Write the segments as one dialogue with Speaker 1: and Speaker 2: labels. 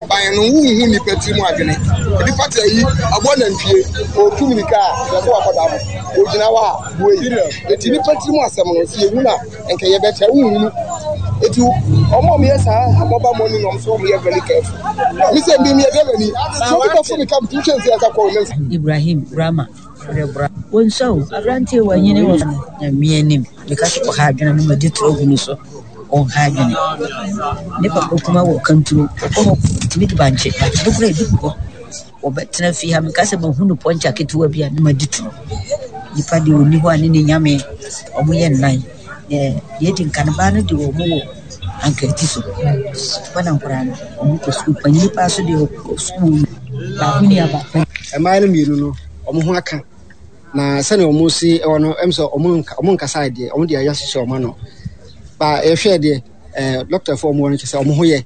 Speaker 1: Ban no wonhu nnipa tiri mu adwene. Nnipa te ayi aboa nantwie ɔretu mirika a yɛsɛ wakɔda no ɔgyina hɔ a buei. Eti nnipa tiri mu asɛm no sɛ yɛhu no a nka yɛbɛkyɛ wonhunu. Eti wɔn a wɔyɛ saa mobile money no wɔn nso wɔyɛ very careful. Me sɛ me meyɛ driver ni sɛ obi bɛfo me ka metumi twɛn sɛ yɛnsa kɔ wɔn
Speaker 2: Ibrahim Rama rebra. Wɔnsua o, aberanteɛ wanyini wɔ Nyame anim. Meka sɛ ɔha adwene no madi toro gu no so. Ɔnha adwene. Ne papa kuma wɔ kanturo. Ɔkɔ hɔ tumi di bankye. Bankye no koraa ebi gu hɔ. Ɔbɛtena fie ha. Meka sɛ mahu no pɔnkye ketewa bi a na madi toro. Nipa deɛ ɔnni hɔ a ne ne nyame wɔn yɛ nnan. Deɛ edi nkan baa no de wɔn wɔ ankrati so. Hɔ na nkwadaa no wɔn kɔ sukuu. Panyin paa so deɛ ɔkɔ sukuu baako ni aba.
Speaker 3: Mmaa no mmienu no wɔn ho aka. Na sɛnea wɔn si wɔ no, ɛm sɛ wɔn nka wɔn nkasa deɛ, wɔn de ayɛ hyehyɛ wɔn ano. Ba yɛhwɛ deɛ, ɛɛ dɔktafoɔ wɔn wɔ no kyerɛ sɛ wɔn ho yɛ.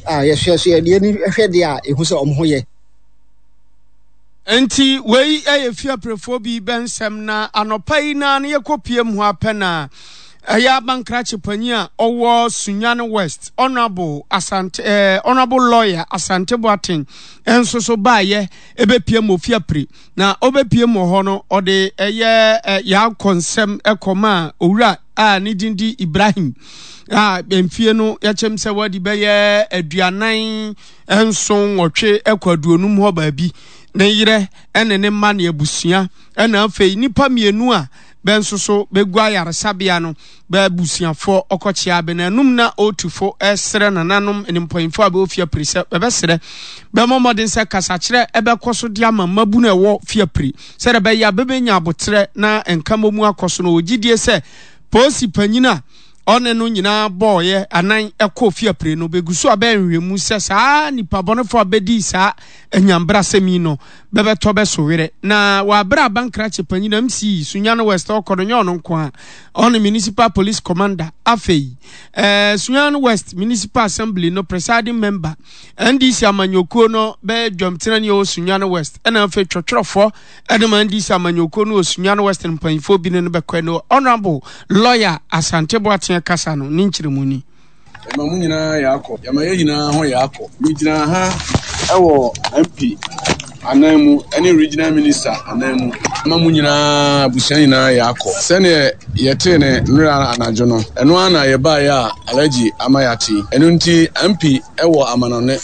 Speaker 3: A yɛhwɛ so yɛ deɛ hwɛ deɛ a ehu sɛ wɔn ho yɛ.
Speaker 4: Enti wei yɛ fiaprefoɔ bi bɛnsɛm na anɔpa yi naa no yɛkɔ pie mu hɔ apɛ na ɛyɛ abankrakye panyin a ɔwɔ Sunyani West Honourable Asante eh, Honourable Lawyer Asante Boateng nso so baayɛ ɛbɛpie mu ofiapre Na ɔbɛpiem wɔ hɔ no, ɔde ɛyɛ Yaakɔ nsɛm kɔmaa owura a ne din de Ibrahim a mfie no yɛkyɛm sɛ wadi bɛyɛ 47 kɔ 50 hɔ baabi. Ne yerɛ ne ne mma ne abusua ɛna afei nnipa mmienu a bɛ nso so bɛgu ayaresabea no bɛ abusuafoɔ ɔkɔkyea bɛ nanom na ɔretu fo srɛ nananom ne mpanyinfoɔ a bɛwɔ fie apiri sɛ bɛbɛsrɛ bɛmmɔ mmɔden sɛ kasakyerɛ ɛbɛkɔ so de ama mmabunu a ɛwɔ fie apiri sɛdeɛ ɛbɛyɛ a bɛbɛnya aboterɛ na nkammɔ akɔ so no wɔ gyidie sɛ polisi panyin a ɔne no nyinaa bɔɔyɛ anan ɛkɔɔ fie apire no bɛgu so a bɛyɛ nhwehwɛmu sɛ saa nipa bɔnefoɔ a bɛdii saa anyambrasɛm yi no bɛbɛtɔ bɛso werɛ. Na wɔ aberɛ a Bankrakye panyin MC Sunyani West ɔkɔ no nyɛ ɔno nko a, ɔne Municipal Police Commander, afei eh, Sunyani West Municipal Assembly no presiding member, NDC amanyɔkuo no bɛyɛ dwamtenani ɛwɔ Sunyani West, ɛna afei twɔtwerɛfoɔ ɛde ma NDC amanyɔkuo no wɔ Sunyani West no mpanyinfoɔ bi ne no bɛkɔ no Honorable Lawyer Asante Boateng kasa no ne nkyerɛmu ni.
Speaker 5: Yɛma mo nyinaa yɛakɔ. Yɛma yɛn nyinaa ho yɛakɔ. Megyina ha wɔ MP anan mu ne Regional Minister anan mu. Yɛma mo nyinaa, abusua nyinaa yɛakɔ. Sɛdeɛ yɛtee no nnora anadwo no, ɛno ara na yɛbaeɛ a Alhaji ama yɛate yi. Ɛno nti MP wɔ amanɔne.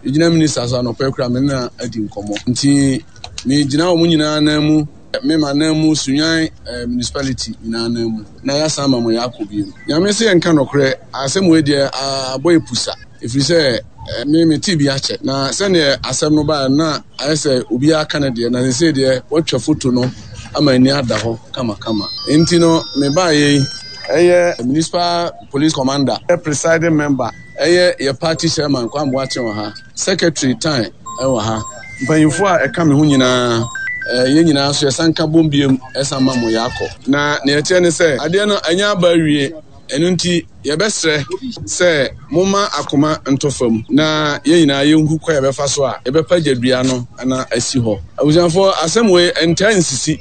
Speaker 5: Regional Minister nso anɔpa yi koraa me ne no adi nkɔmmɔ. Nti megyina wɔn nyinaa anan mu, me m'anan mu, Sunyani Municipality nyinaa anan mu. Na yɛasan ama mo yɛakɔ bio. Nyame se yɛnka nɔkorɛ, asɛm wei deɛ abɔ yɛ pusa, ɛfiri sɛ me metee bi akyɛ, na sɛdeɛ asɛm no baeɛ no na ayɛ sɛ obiara ka ne deɛ, na seesei deɛ wɔatwa foto no ama ani ada hɔ kamakama. Enti no mebaeɛ yi, ɛyɛ Municipal Police Commander, Presiding Member, ɛyɛ yɛ Party Chairman Kwame Boakye wɔ ha, Secretary Tan wɔ ha, mpanyimfoɔ a ɛka me ho nyinaa, yɛn nyinaa nso yɛsan ka bom biom san ma mo yɛakɔ. Na nea ɛteɛ ne sɛ, adeɛ no anya aba awie, ɛno nti yɛbɛsrɛ sɛ momma akoma ntɔ fam na yɛn nyinaa yɛnhu kwan a yɛbɛfa so a yɛbɛpagya dua no na asi hɔ. Abusuafoɔ, asɛm wei ɛntaa nsisi.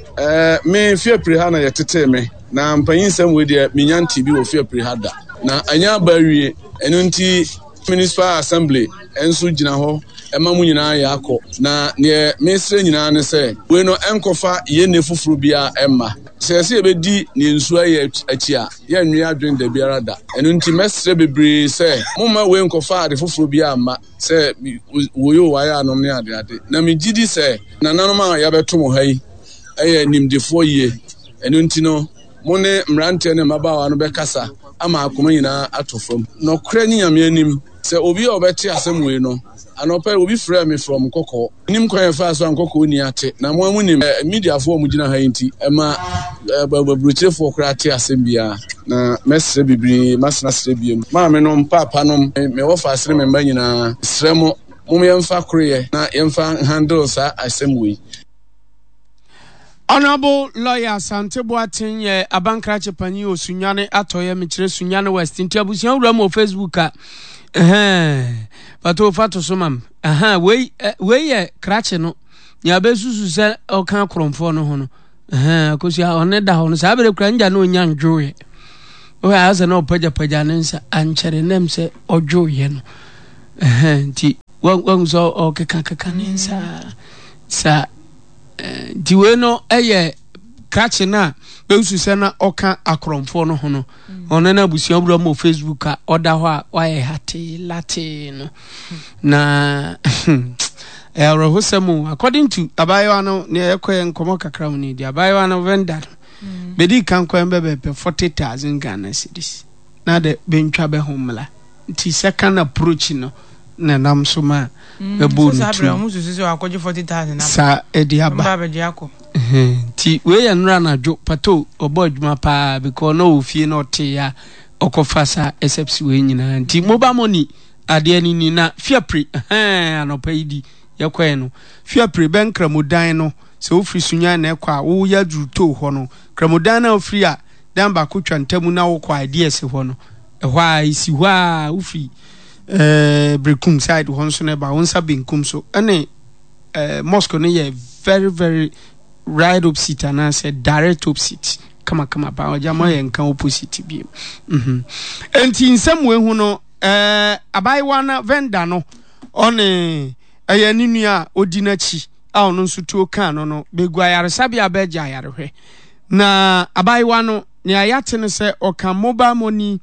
Speaker 5: Me, Fiapre ha na yɛtetee me, na mpanyinsɛm wei deɛ mennya ntee bi wɔ Fiapre ha da. Na anya aba awie, ɛno nti Municipal Assembly nso gyina hɔ ma mo nyinaa yɛ akɔ. Na neɛ mesrɛ nyinaa ne sɛ, wei no ɛnkɔfa yɛn nne foforɔ biara mma. Sɛ yɛsɛ yɛbɛdi neɛ nsuo ayɛ akyi a, yɛnnwe adwene dabiara da. Ɛno nti mɛsrɛ bebree sɛ, momma wei nkɔfa ade foforɔ biara mma, sɛ woi o wayɛ anom ne adeade. Na megye di sɛ nananom a yɛabɛto mo ha yi yɛ nimdefoɔ yie. Ɛno nti no, Mo ne mmeranteɛ ne mmabaawa no bɛkasa ama akoma nyinaa atɔ fam. Nɔkorɛ ne Nyame anim, sɛ obi a ɔbɛte asɛm wei no, anɔpa yi obi frɛɛ me from Nkɔkɔɔ. Mennim kwan a ɛfaa so a Nkɔkɔɔ ni ate, na mo ara monim, mediafoɔ a wɔgyina ha yi nti, ɛma aburokyerefoɔ koraa te asɛm biara. Na mɛsrɛ bebree, masene asrɛ biom. Maamenom, paapanom, me wɔfaase ne me mma nyinaa, mesrɛ mo, mom yɛmfa koroyɛ na yɛmfa nhandle saa asɛm wei.
Speaker 4: Honourable Lawyer Asante Boateng yɛ abankrakye panyin wɔ Sunyani atɔeɛ mekyerɛ Sunyani West nti abusua wura mu wɔ Facebook a ɛhɛn pato fa to so mam ɛhɛn wei wei yɛ krakye no nea bɛsusu sɛ ɔka akorɔmfoɔ no ho no ɛhɛn akosua ɔne da hɔ no saa bere kura ngya no ɔnya ndwoeɛ ɔyɛ asɛ na ɔpagyapagya ne nsa ankyɛre nam sɛ ɔdwoeɛ no. Nti wahu sɛ ɔkekakeka ne nsa saa. Nti wei no yɛ krakye no a bɛsusu sɛ na ɔka akorɔmfoɔ no ho no. Ɔno no abusua wura mu wɔ Facebook a ɔda hɔ a wayɛ hatee latee no. Na ɛyɛ awerɛhosɛm o. According to abaayewa no, nea yɛkɔɛ nkɔmmɔ kakra mu ni deɛ abaayewa no vendor no bɛdi kan kwan bɛbɛpɛ 40,000 Ghana cedis na de bɛntwa bɛ ho mmla. Nti second approach no na ɛnam so ma bɛbɔɔ no tuo saa ɛde aba. Nti wei yɛ nnora anadwo pato ɔbɔ adwuma paa because na ɔwɔ fie na ɔte ya ɔkɔfa saa except wei nyinaa. Nti mobile money adeɛ no ni na fiapre hɛn anɔpa yi di yɛkɔɛ no fiapre bɛn kramodan no sɛ wofiri Sunyani na ɛkɔ a woyɛ aduru too hɔ no kramodan no a wofiri a dan baako twa ntamu na wokɔ ideas hɔ no ɛhɔ a ɛsi hɔ a wofiri ɛɛ Berekum side hɔ nso na ɛba wo nsa benkum so ɛne ɛɛ mosque no yɛ very very right opposite anaasɛ direct opposite kamakama paa ɔgya mo ayɛ nka opposite bi mhm nti nsɛm wei ho no ɛɛ abaayewa na vendor no ɔne ɛyɛ ne nua a odi n'akyi a ɔno nso tuo kaa no no begu ayaresabea bɛgye ayarehwɛ na abaayewa no nea yɛate no sɛ ɔka mobile money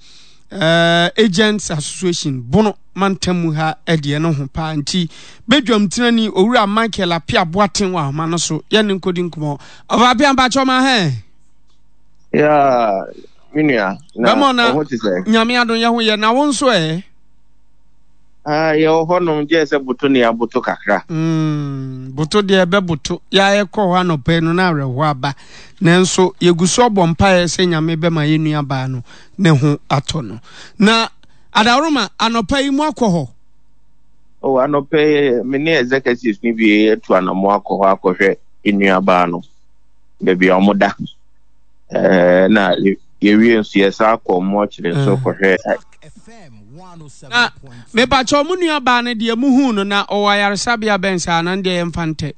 Speaker 4: uh, agents association bono mantam mu ha deɛ no ho paa nti badwam tenani owura michael apia boaten wɔ ahoma no so yɛne nkɔdi nkɔmmɔ ɔfa apia mpakyɛ ɔma hɛ
Speaker 6: Yeah, me nua. Na
Speaker 4: bɛmɔ na
Speaker 6: ɔho te sɛ.
Speaker 4: Nyame adom yɛ ho yɛ na wo nso ɛ.
Speaker 6: Ah, yɛwɔ hɔnom gye sɛ boto ne aboto kakra.
Speaker 4: Mm, boto deɛ ɛbɛboto. Yɛ yɛkɔ hɔ anɔpa yi no na awerɛhoɔ aba. Nanso yɛgu so ɔbɔ mpaeɛ sɛ Nyame bɛma yɛn nua baa no ne ho atɔ no. Na Adaworoma, anɔpa yi mo akɔ hɔ?
Speaker 6: Oh, anɔpa yi me ne executives no bi atu anamo akɔ hɔ akɔhwɛ nua baa no baabi a wɔda. Ɛɛ na yɛwie nso yɛsan kɔ mɔkyere nso mm. kɔhwɛ.
Speaker 4: Na mepakyɛ ɔmo nua baa no deɛ muhuu no na ɔwɔ ayaresabea bɛn saa na deɛ yɛmfa ntɛ.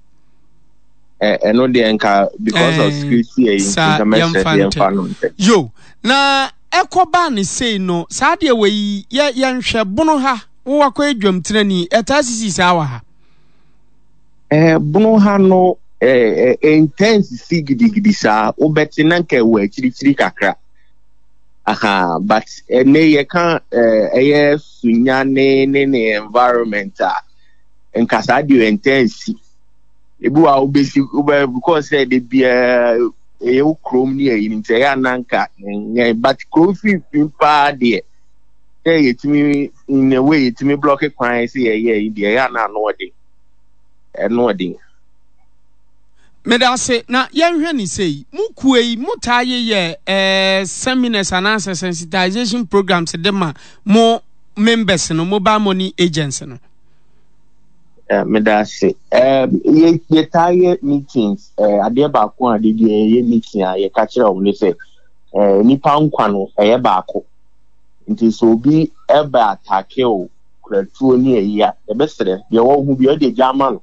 Speaker 6: Ɛno deɛ nka because of security ɛyi nka mɛsrɛ sɛ yɛmfa no ntɛ.
Speaker 4: Yo na ɛkɔbaa ne sei no saa deɛ wɔ yi yɛ yɛnhwɛ bono ha wowɔ akɔ adwamtenani ɛtaa sisi saa wɔ ha.
Speaker 6: Eh, bono ha no eh, eh, intense si gidigidi saa wobɛte na nka ɛwɔ akyirikyiri kakra aha but ɛnɛ yɛka ɛyɛ sunya ne ne ne environment a nka saa deɛ intense si ebi wɔ a wobɛsi wobɛ because sɛ de biara ɛyɛ wo kurom ne ayi nti ɛyɛ ananka nyɛ but kurom finfin paa deɛ sɛ yɛtumi in a way yɛtumi blɔke kwan sɛ yɛyɛ yi deɛ ɛyɛ ana ano ɔden ɛno ɔden.
Speaker 4: Meda ase na yɛnhwɛ ne sei mo kuo yi mo taa yeyɛ eh, seminars anaasɛ sensitization programs de ma mo members no mobile money agents no.
Speaker 6: Eh, meda ase eh, yɛtaa yɛ meetings eh, adeɛ baako a de deɛ yɛyɛ meeting a yɛka kyerɛ wɔn ne sɛ eh, nipa nkwa no ɛyɛ baako nti sɛ obi ɛbɛ atake o kura tuo ne ayi a yɛbɛsrɛ deɛ wɔho bi ɔde gya ama no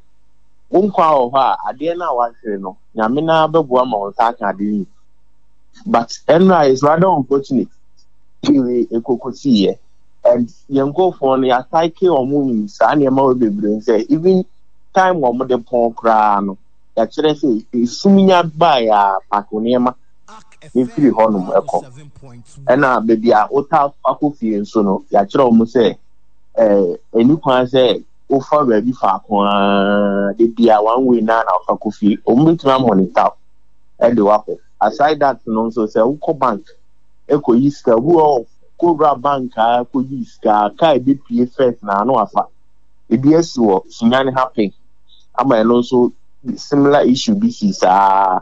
Speaker 6: wo nkwa wɔ hɔ a adeɛ no a wahwere no nyame no bɛboa ma wo nsa aka ade no but ɛnora is rather unfortunate pii ekokosiiɛ and yɛn nkurɔfoɔ no yɛasaeke wɔn in saa nneɛma wɔ bebree sɛ even time wɔn de pɔn koraa no yɛakyerɛ sɛ esum nya baeɛ a paako nneɛma efiri hɔnom ɛkɔ ɛna baabi a wota akɔ fie nso no yɛakyerɛ wɔn sɛ ɛɛ ɛni kwan sɛ wofa baabi faako ara de bia one way naa na wofa kɔ fie wɔn bɛtumi amonitor ɛde wakɔ aside that no nso sɛ wokɔ bank ɛkɔyi sika obi wɔ kowura bank a kɔyi sika kaa ebepie first na ano afa ebi asi wɔ Sunyani ha pɛn ama ɛno nso similar issue bi si saa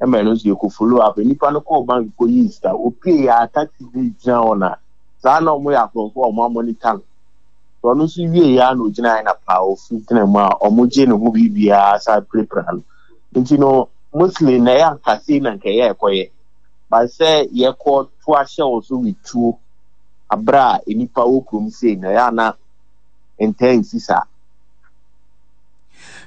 Speaker 6: ɛma ɛno nso yɛkɔ follow up nipa no kɔɔ bank kɔyi sika opie yɛ a taxi bi gyina hɔ na saa na wɔn yɛ akorɔmfo a wɔn amonita no so ɔno nso wie yɛ a na ogyina yɛ na paa ofi gyina mu a wɔn gye ne ho biribiara saa pirapira no nti no mostly na ɛyɛ ankasa na nkɛyɛ ɛkɔyɛ. But sɛ yɛkɔ to ahyɛ wo so with tuo aberɛ a nnipa wɔ kurom sei no ɛyɛ a na ntaa nsi saa.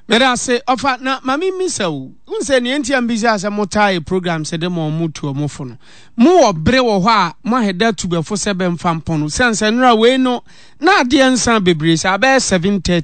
Speaker 4: Meda ase ɔfa na ma me mmisa wo. Wohu sɛ nea nti a mbisa sɛ mo taa yɛ program sɛ de ma ɔmo tu ɔmo fo no. Mo wɔ bere wɔ hɔ a mo aheda tu bɛfo sɛ bɛmfa mpɔn no. Siane sɛ nnora wei no na adeɛ nsa bebree saa bɛyɛ 7:30.